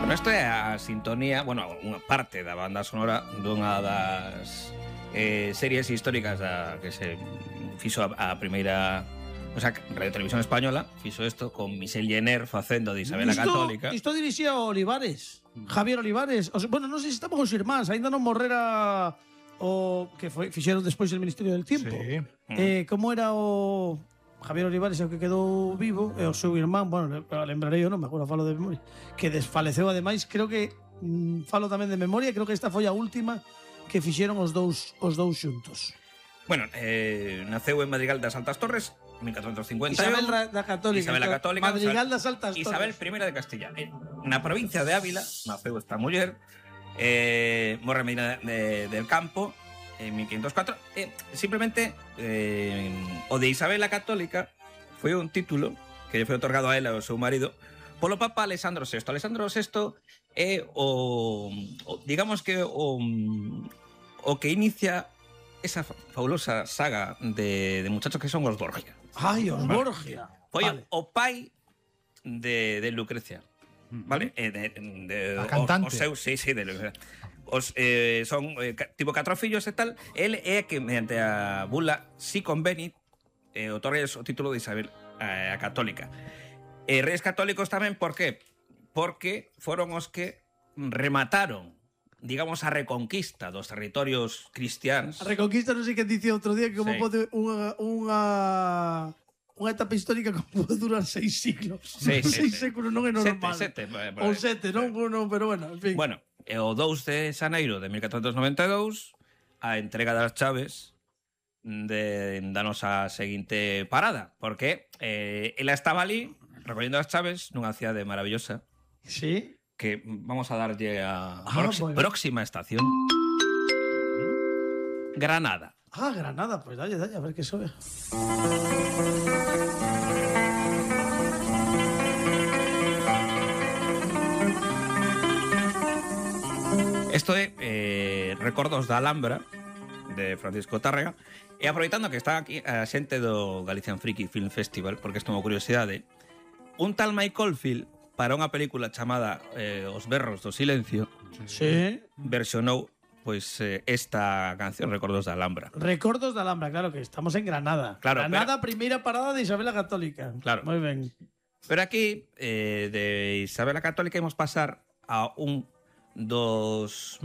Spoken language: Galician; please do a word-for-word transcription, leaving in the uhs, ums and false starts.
Bueno, isto é a sintonía, bueno, unha parte da banda sonora dunha das eh, series históricas da que se fixo a, a primeira, o sea, Radio Televisión Española fixo isto con Michel Jenner facendo de Isabel a Católica. Isto dirixía Olivares, Javier Olivares. O sea, bueno, non sei se estamos os irmáns, aínda non morrera o que foi fixeron despois el Ministerio del Tiempo. Sí. Eh, como era o Javier Olivares, o que quedou vivo, e o seu irmán, bueno, lembrarei eu, non me acordo, falo de memoria, que desfaleceu ademais, creo que mm, falo tamén de memoria, creo que esta foi a última que fixeron os dous os dous xuntos. Bueno, eh, naceu en Madrigal das Altas Torres, mil catrocentos cincuenta e un. Isabel da Católica. Isabel a Católica. Madrigal das Altas Torres. Isabel I de Castilla. Na provincia de Ávila naceu esta muller, eh, morre en Medina de, del Campo, en mil quinientos cuatro. Eh, simplemente, eh, o de Isabel a Católica foi un título que lle foi otorgado a ela e ao seu marido polo Papa Alessandro sexto. Alessandro sexto é o, o digamos que o, o que inicia esa fabulosa saga de, de muchachos que son os Borgia. Ai, os Borgia. Foi Vale. o pai de, de Lucrecia, vale? Eh, de, de, A cantante. Os, os seus, sí, sí, de Lucrecia. Os, eh, son eh, tipo catro fillos e tal. El é que mediante a bula Si Convenit eh, otorga o título de Isabel eh, a Católica. E reis católicos tamén, por qué? Porque foron os que remataron, digamos, a reconquista dos territorios cristiáns. A reconquista non sei que dicía outro día que como Sí. pode unha unha unha etapa histórica como pode durar seis siglos. Sí, sí, seis sí. séculos non é normal. Sete, sete, por- por Ou aí. sete, non, non, pero bueno, en fin. Bueno, e o dous de xaneiro de mil catrocentos noventa e dous a entrega das chaves de danos a seguinte parada, porque eh, ela estaba ali recollendo as chaves nunha cidade maravillosa Sí. que vamos a darlle a Ah, prox- moi ben. próxima estación, Granada. Ah, Granada, pues dalle, dalle, a ver que sobe. Isto é eh, Recordos da Alhambra de Francisco Tárrega. E aproveitando que está aquí a xente do Galician Friki Film Festival, porque isto é unha curiosidade, un tal Mike Oldfield para unha película chamada eh, Os berros do silencio Sí. versionou pois eh, esta canción Recordos da Alhambra. Recordos da Alhambra, claro que estamos en Granada. Claro, Granada, primeira parada de Isabel a Católica. Claro. Moi ben. Pero aquí, eh, de Isabel a Católica, imos pasar a un dos